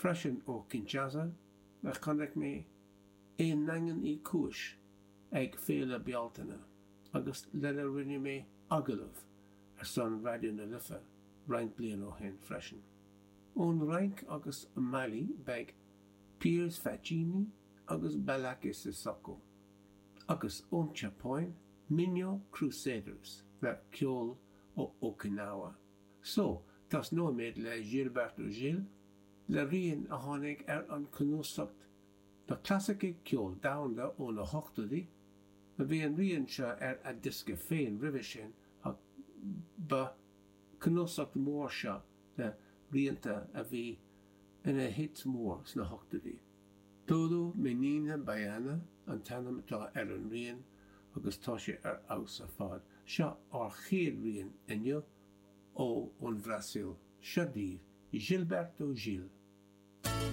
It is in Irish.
Freisin ó Kinshasa a chonaic mé i nDaingean Uí Chúis ag Féile Bealtaine agus lena rinne mé agallamh ar son Raidió na Life roinnt bliain ó shin freisin. Ón Fhrainc agus Mailí beidh Piers Faccini agus Ballaké Sissoko agus ón tSeapáin Minyo Crusaders le ceol ó Okinawa. So, tosnóimid le Gilberto Gil le rian a tháinig ar an cnuasacht Na Clasaicigh Ceol Domhanda ó na hochtóidí. Bhí an rian seo ar a diosca féin roimhe sin ach ba cnuasacht mór seo le rianta a bhí ina hit mór sna hochtóidí. Todo Menina Baiana an t-ainm atá ar an rian agus tá sé ar fheabhas ar fad. Seo ár chéad rian inniu ó ón Bhrasaíl. Seo daoibh Gilberto Gil.